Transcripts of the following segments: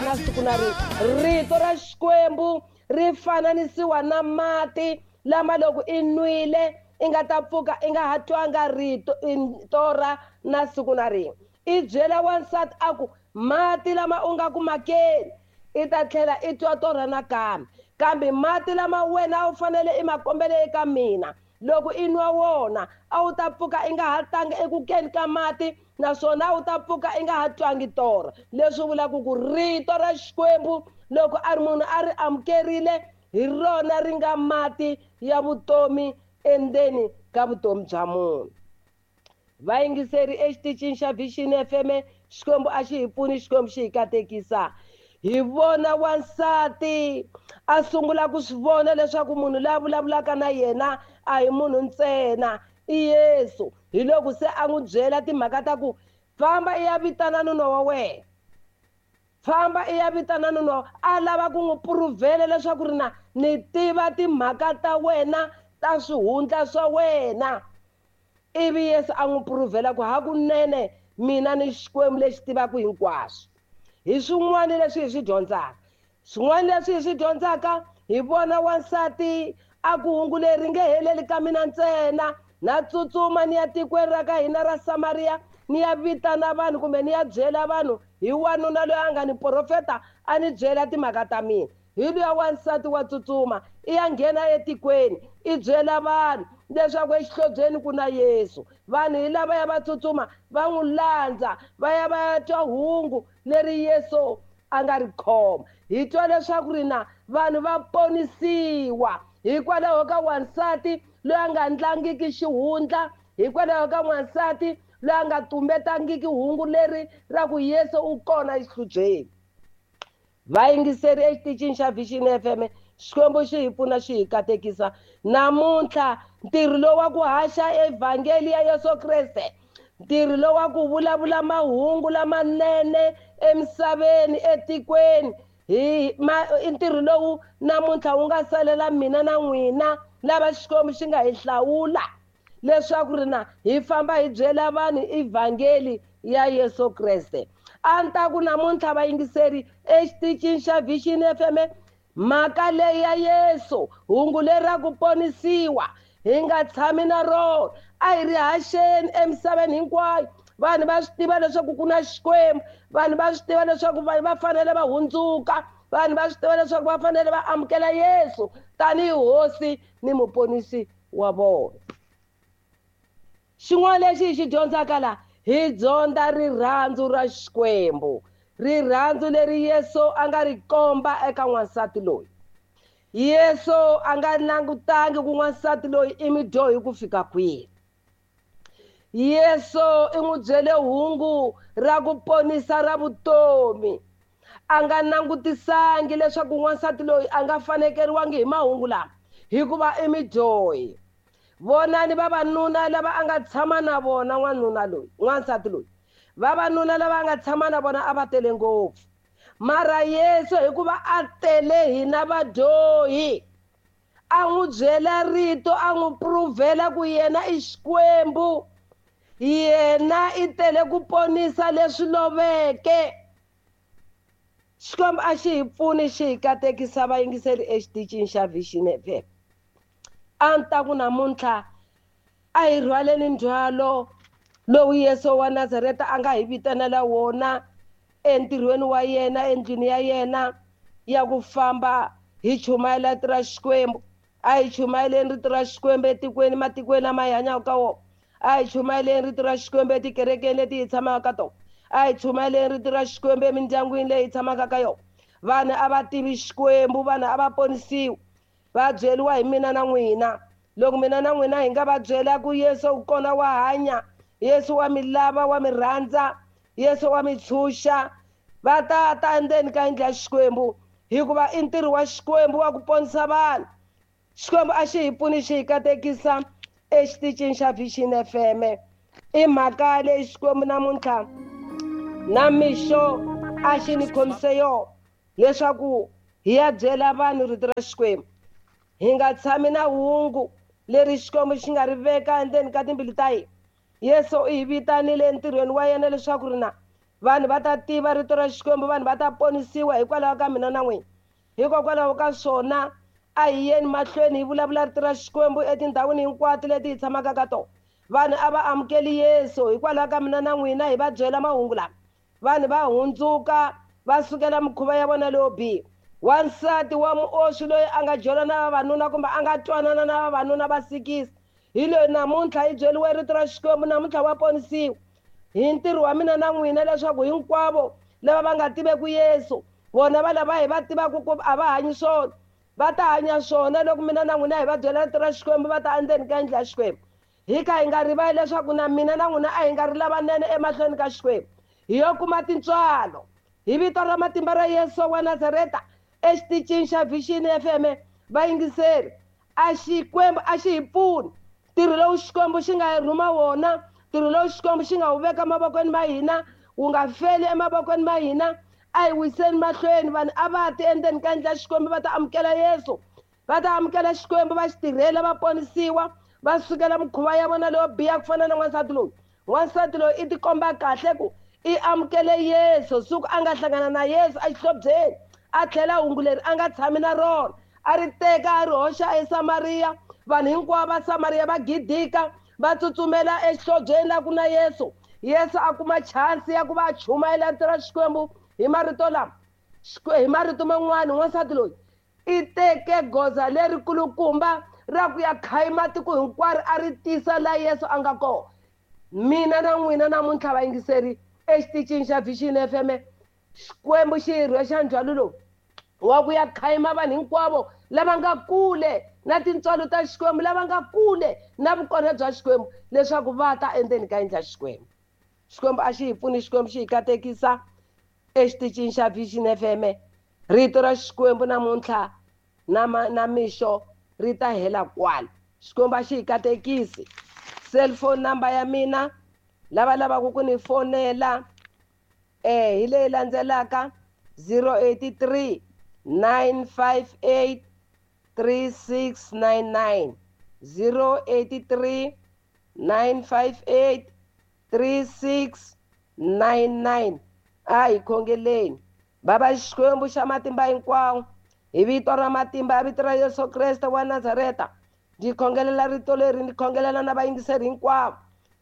na siku na rin'we. Rito ra Xikwembu ri fananisiwa na mati lama loko i nwile i nga ta pfuka i nga ha twanga rito torha na siku na rin'we. I byela wansati a ku mati lama u nga ku makeni i ta tlhela i twa torha nakambe, kambe mati lama wena a wu fanele i ma kombele eka mina, loko i nwa wona a wu ta pfuka i nga ha tanga eku keni ka mati, naswona a wu ta pfuka i nga ha twangi torha. Leswi vulaka ku rito ra Xikwembu loko a ri munhu a ri amukerile, hi rona ri nga mati ya vutomi endzeni ka vutomi bya munhu. Vayingiseri exitichini xa Vision FM, Xikwembu a xi hi pfuni, Xikwembu xi hi katekisa. Hi vona wansati a sungula ku swi vona leswaku munhu loyi a vulavulaka na yena a hi munhu ntsena, i Yesu. Hi loko se a n'wi byela timhaka ta ku famba i ya vitana nuna wa wena, famba i ya vitana nuna wa, a lava ku n'wi puruvhela leswaku ri na ni tiva timhaka ta wena ta swihundla swa wena. Ivi Yesu a n'wi puruvhela ku hakunene mina ni Xikwembu lexi tivaka hinkwaswo. Hi swin'wana leswi hi swi dyondzaka, swin'wana leswi hi swi dyondzaka, hi vona wansati a ku hungu leri nge heleli ka mina ntsena, na tsutsuma ni ya tikweni ra ka hina ra Samaria, ni ya vitana vanhu kumbe ni ya byela vanhu hi wanuna loyi a nga ni profeta a ni byela timhaka ta mina. Hi luya wansati wa tsutsuma i ya nghena etikweni i byela vanhu leswaku exihlobyeni ku na Yesu. Vanhu hi lava ya va tsutsuma va n'wi landza va ya va ya twa hungu leri Yesu a nga ri khoma. Hi twa leswaku ri na vanhu va ponisiwa hikwalaho ka wansati loyi a nga ndlangiki xihundla, hikwalaho ka wansati loyi a nga tumbetangiki hungu leri ra ku Yesu u kona exihlobyeni. Vayingiseri exitichini xa Vision FM, Xikwembu xi hi pfuna xi hi katekisa. Namuntlha ntirho lowu wa ku haxa evhangeli ya Yesu Kreste, ntirho lowu wa ku vulavula mahungu lamanene emisaveni, etikweni, hi i ntirho lowu namuntlha wu nga salela mina na n'wina lava Xikwembu xi nga hi hlawula leswaku ri na hi famba hi byela vanhu evhangeli ya Yesu Kreste. A ni ta ku namuntlha vayingiseri exitichini xa Vision FM, mhaka leyi ya Yesu, hungu leri ra ku ponisiwa, hi nga tshami na rona, a hi ri haxeni emisaveni hinkwayo. Vanhu va swi tiva leswaku ku na Xikwembu, vanhu va swi tiva leswaku vanhu va fanele va hundzuka, vanhu va swi tiva leswaku va fanele va amukela Yesu tanihi hosi ni muponisi wa vona. Xin'wana lexi hi xi dyondzaka laha, hi dyondza rirhandzu ra Xikwembu, rirhandzu leri Yesu a nga ri komba eka n'wansati loyi. Yesu a nga langutangi ku n'wansati loyi i mudyohi ku fika kwihi. Yesu i n'wi byele hungu ra ku ponisa ra vutomi. A nga langutisangi leswaku n'wansati loyi a nga fanekeriwangi hi mahungu lama hikuva i mudyohi. Vonani vavanuna lava a nga tshama na vona n'wanuna loyi, n'wansati loyi, vavanuna lava a nga tshama na vona a va tele ngopfu. Mara Yesu hikuva a tele hina vadyohi, a n'wi byela rito, a n'wi pruvhela ku yena i Xikwembu, yena i tele ku ponisa leswi loveke. Xikwembu a xi hi pfuni xi hi katekisa vayingiseri exitichini xa Vision FM. A ni ta ku namuntlha a hi rhwaleni ndzhwalo lowu Yesu wa Nazareta a nga hi vitanela wona entirhweni wa yena, endlwini ya yena ya ku famba hi chumayela rito ra Xikwembu. A hi chumayeleni rito ra Xikwembu etikweni, matikweni lama hi hanyaka ka wona. A hi chumayeleni rito ra Xikwembu etikerekeni leti hi tshamaka ka tona. A hi chumayeleni rito ra Xikwembu emindyangwini leyi hi tshamaka ka yona. Vanhu a va tivi Xikwembu, vanhu a va ponisiwi, va byeriwa hi mina na n'wina. Loko mina na n'wina hi nga va byela ku Yesu u kona wa hanya, Yesu wa mi lava, wa mi rhandza, Yesu wa mi tshunxa, va ta ta endzeni ka yindlu ya Xikwembu, hikuva i ntirho wa Xikwembu wa ku ponisa vanhu. Xikwembu a xi hi pfuni xi hi katekisa exitichini xa Vision FM. I mhaka leyi Xikwembu namuntlha na mixo a xi ni khomise yona leswaku hi ya byela vanhu rito ra Xikwembu. Hi nga tshami na hungu leri Xikwembu xi nga ri veka endzeni ka timbilu ta hina. Yesu u hi vitanile entirhweni wa yena leswaku ri na Vanhu va ta tiva rito ra Xikwembu, vanhu va ta ponisiwa hikwalaho ka mina na n'wina. Hikokwalaho ka swona a hi yeni mahlweni hi vulavula rito ra Xikwembu etindhawini hinkwato leti hi tshamaka ka tona. Vanhu a va amukeli Yesu hikwalaho ka mina na n'wina hi va byela mahungu lama. Vanhu va hundzuka va sukela mikhuva ya vona leyo biha. Wansati wa muoswi loyi a nga jola na vavanuna kumbe a nga twanana na vavanuna va sikisa, hi loyi namuntlha hi byeriwe rito ra Xikwembu, namuntlha wa ponisiwa. Hi ntirho wa mina na n'wina leswaku hinkwavo lava va nga tiveki Yesu, vona va lava hi va tivaka ku a va hanyi swona, va ta hanya swona loko mina na n'wina hi va byela rito ra Xikwembu, va ta endzeni ka yindlu ya Xikwembu. Hi kha hi nga rivali leswaku na mina na n'wina a hi nga ri lavanene emahlweni ka Xikwembu. Hi yo kuma tintswalo hi vito ra matimba ra Yesu wa Nazareta exitichini xa Vision FM. Vayingiseri, a Xikwembu a xi hi pfuni. Ntirho lowu Xikwembu xi nga hi rhuma wona, ntirho lowu Xikwembu xi nga wu veka mavokweni ma hina, wu nga feli emavokweni ma hina. A hi wiseni mahlweni, vanhu a va ti endzeni ka yindlu ya Xikwembu, va ta amukela Yesu, va ta amukela Xikwembu, va xi tirhela, va ponisiwa, va sukela mikhuva ya vona leyo biha ku fana na n'wansati loyi. N'wansati loyi i tikomba kahle ku i amukele Yesu siku a nga hlangana na Yesu exihlobyeni, a tlhela hungu leri a nga tshami na rona, a ri teka a ri hoxa eSamariya. Vanhu hinkwavo va Samariya va gidika, va tsutsumela exihlobyeni la ku na Yesu. Yesu a kuma chance ya ku va a chumayela rito ra Xikwembu hi marito lama. Hi marito man'wani, n'wansati loyi i teke goza lerikulukumba ra ku ya khayima tiko hinkwaro, a ri tisa la Yesu a nga kona. Mina na n'wina namuntlha vayingiseri exitichini xa Vision FM, Xikwembu xi hi rhwexa ndzhwalo lowu wa ku ya khayima vanhu hinkwavo lava nga kule na tintswalo ta Xikwembu, lava nga kule na vukona bya Xikwembu, leswaku va ta endzeni ka yindlu ya Xikwembu. Xikwembu a xi hi pfuni, Xikwembu xi hi katekisa exitichini xa Vision FM. Rito ra Xikwembu namuntlha na mixo ri ta hela kwala. Xikwembu a xi hi katekisi. Cellphone number ya mina, lava lavaka ku ni fonela, hi leyi landzelaka: 083 958 3699, 083 958 3699. A hi khongeleni. Baba Xikwembu xa matimba hinkwawo, hi vito ra matimba ya vito ra Yesu Kreste wa Nazareta, ndzi khongelela rito leri, ndzi khongelela na vayingiseri hinkwavo.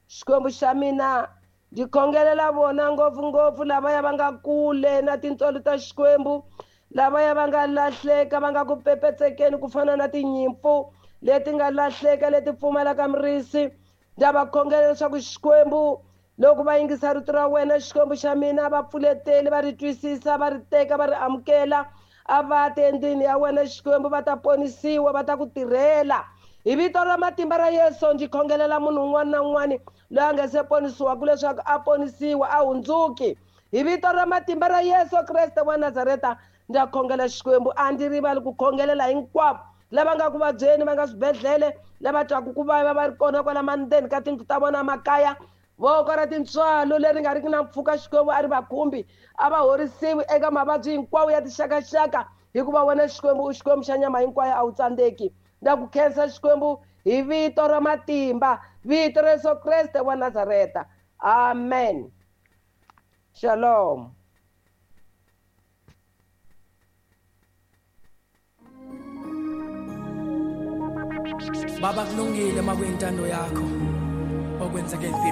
Xikwembu xa mina, ndzi khongelela vona ngopfungopfu lavaya va nga kule na tintswalo ta Xikwembu, lavaya va nga lahleka, va nga ku pepetsekeni ku fana na tinyimpfu leti nga lahleka, leti pfumalaka murisi. Ndza va khongela leswaku Xikwembu, loko va yingisa rito ra wena, Xikwembu xa mina, va pfuleteli, va ri twisisa, va ri teka, va ri amukela, a va ti endlwini ya wena Xikwembu, va ta ponisiwa, va ta ku tirhela. Hi vito ra matimba ra Yesu, ndzi khongelela munhu un'wana na un'wana loyi a nga se ponisiwaka leswaku a ponisiwa, a hundzuki. Hi vito ra matimba ra Yesu Kreste wa Nazareta, ndza khongela Xikwembu, a ndzi rivali ku khongelela hinkwavo lava nga ku vabyeni, va nga swibedhlele, lava twaka ku vava va ri kona kwala mandzeni ka tindlu ta vona makaya. Voko ra tintswalo leri nga riki na mpfhuka, Xikwembu a ri va khumbi, a va horisiwi eka mavabyi hinkwawo ya tixakaxaka, hikuva wena Xikwembu u Xikwembu xa nyama hinkwayo, a wu tsandzeki. Ndza ku khensa Xikwembu hi vito ra matimba, vito ra Yesu Kreste wa Nazareta. Amen. Shalom. Baba, kulungile makuyintando yakho okwenzeke empilweni.